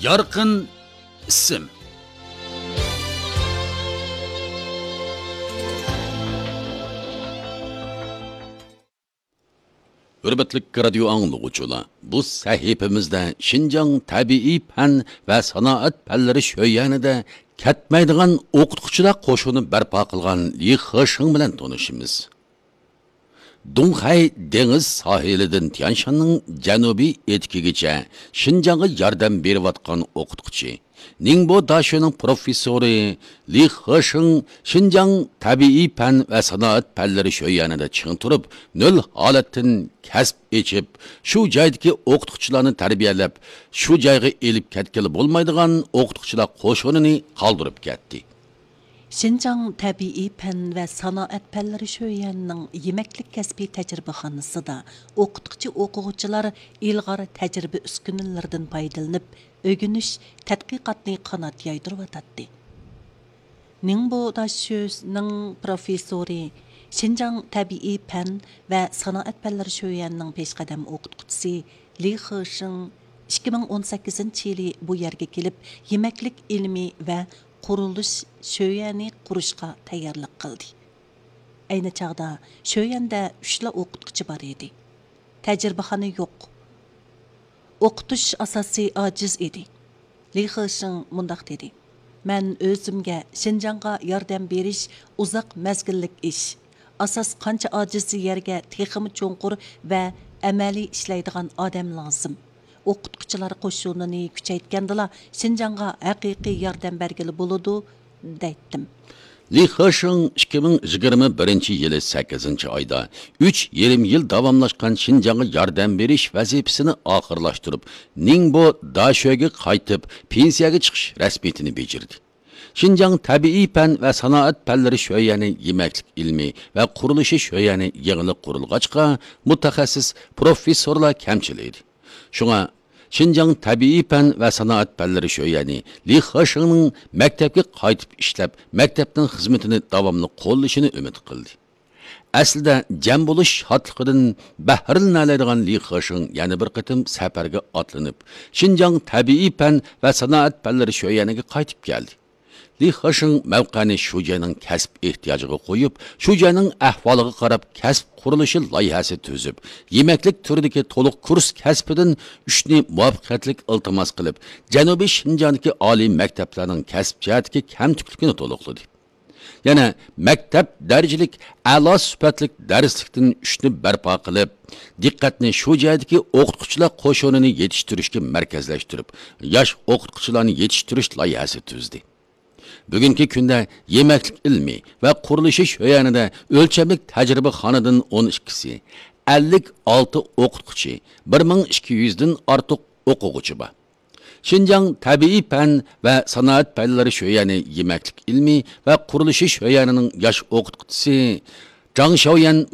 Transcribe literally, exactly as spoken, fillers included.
يارقىن ئىسىم. ھۆرمەتلىك رادىيو ئاڭلىغۇچىلار، بۇ سەھىپىمىزدە شىنجاڭ تەبىئىي پەن ۋە سانائەت پەنلىرى شۆيەنىدە كەتمەيدىغان ئوقۇتقۇچىلار قوشۇنى بەرپا قىلغان لى خېشىڭ بىلەن تونۇشىمىز. دۇڭخەي دېڭىز ساھىلىدىن تيەنشاننىڭ جەنۇبىي ئېتىكىگىچە شىنجاڭغا ياردەم بېرىۋاتقان ئوقۇتقۇچى، نىڭبو داشۆنىڭ پروفېسسورى لى خېشىڭ شىنجاڭ تەبىئىي پەن ۋە سانائەت پەنلىرى شۆيەنىدە چىڭ تۇرۇپ، نۆل ھالەتتىن كەسىپ ئېچىپ، شۇ جايدىكى ئوقۇتقۇچىلارنى تەربىيەلەپ، شۇ جايغا ئېلىپ كەتكىلى بولمايدىغان ئوقۇتقۇچىلار قوشۇنىنى قالدۇرۇپ كەتتى. شىنجاڭ تەبىئىي پەن ۋە سانائەت پەنلىرى شۆيەنىنىڭ يېمەكلىك كەسپىي تەجرىبىخانىسىدا ئوقۇتقۇچى ئوقۇغۇچىلار ئىلغار تەجرىبە ئۈسكۈنىلىرىدىن پايدىلىنىپ، ئۆگىنىش، تەتقىقاتنى قانات يايدۇرۇۋاتاتتى. نىڭبو داشۆنىڭ پروفېسسورى، شىنجاڭ تەبىئىي پەن ۋە سانائەت پەنلىرى شۆيەنىنىڭ پېشقەدەم ئوقۇتقۇچىسى لى خېشىڭ ئىككى مىڭ ئون سەككىزىنچى يىلى بۇ يەرگە كېلىپ، يېمەكلىك ئىلمى ۋە قۇرۇلۇش شۆيەنى قۇرۇشقا تەييارلىق قىلدى. ئەينى چاغدا شۆيەندە ئۈچلا ئوقۇتقۇچى بار ئىدى. تەجرىبىخانا يوق. ئوقۇتۇش ئاساسى ئاجىز ئىدى. لى خېشىڭ مۇنداق دېدى: مەن ئۆزۈمگە شىنجاڭغا ياردەم بېرىش ئۇزاق مەزگىللىك ئىش. ئاساس قانچە ئاجىز يەرگە تېخىمۇ چوڭقۇر ۋە ئەمەلىي ئىشلەيدىغان ئادەم لازىم. ئوقۇتقۇچىلار قوشۇنىنى كۈچەيتكەندىلا شىنجاڭغا ھەقىقىي ياردەم بەرگىلى بولىدۇ، دەيتتىم. لى خېشىڭ ئىككى مىڭ يىگىرمە بىرىنچى يىلى سەككىزىنچى ئايدا ئۈچ يېرىم يىل داۋاملاشقان شىنجاڭغا ياردەم بېرىش ۋەزىپىسىنى ئاخىرلاشتۇرۇپ، نىڭبو داشۆگە قايتىپ، پېنسىيەگە چىقىش رەسمىيىتىنى بېجىردى. شىنجاڭ تەبىئىي پەن ۋە سانائەت پەنلىرى شۆيەنى يېمەكلىك ئىلمى ۋە قۇرۇلۇشى شۆيەنى يېڭىلىق قۇرۇلغاچقا، مۇتەخەسسىس پروفېسسورلار كەمچىل ئىدى. شۇڭا، شىنجاڭ تەبىئىي پەن ۋە سانائەت پەنلىرى شۆيەنى لى خېشىڭنىڭ مەكتەپكە قايتىپ ئىشلەپ، مەكتەپنىڭ خىزمىتىنى داۋاملىق قوللىشىنى ئۈمىد قىلدى. ئەسلىدە جەم بولۇش شادلىقىدىن بەھرىلىنەلەيدىغان لى خېشىڭ يەنە بىر قېتىم سەپەرگە ئاتلىنىپ، شىنجاڭ تەبىئىي پەن ۋە سانائەت پەنلىرى شۆيەنىگە قايتىپ كەلدى. لى خېشىڭ مەۋقەنى شۇ جاينىڭ كەسىپ ئېھتىياجىغا قويۇپ، شۇ جاينىڭ ئەھۋالىغا قاراپ كەسىپ قۇرۇلۇشى لايىھەسى تۈزۈپ، يېمەكلىك تۈرىدىكى تولۇق كۇرس كەسپىدىن ئۈچنى مۇۋەپپەقىيەتلىك ئىلتىماس قىلىپ، جەنۇبىي شىنجاڭدىكى ئالىي مەكتەپلەرنىڭ كەسىپ جەھەتتىكى كەمتۈكلۈكىنى تولۇقلىدى. يەنە مەكتەپ دەرىجىلىك ئەلا سۈپەتلىك دەرسلىكتىن ئۈچنى بەرپا قىلىپ، دىققەتنى شۇ جايدىكى ئوقۇتقۇچىلار قوشۇنىنى يېتىشتۈرۈشكە مەركەزلەشتۈرۈپ، ياش ئوقۇتقۇچىلارنى يېتىشتۈرۈش لايىھەسى تۈزدى. بۈگۈنكى كۈندە يېمەكلىك ئىلمى ۋە قۇرۇلۇشى شۆيەنىدە ئۆلچەملىك تەجرىبىخانىدىن ئون ئىككىسى، ئەللىك ئالتە ئوقۇتقۇچى، بىر مىڭ ئىككى يۈزدىن ئارتۇق ئوقۇغۇچى بار. شىنجاڭ تەبىئىي پەن ۋە سانائەت پەنلىرى شۆيەنى يېمەكلىك ئىلمى ۋە قۇرۇلۇشى شۆيەنىنىڭ ياش ئوقۇتقۇچىسى جاڭ شاۋيەن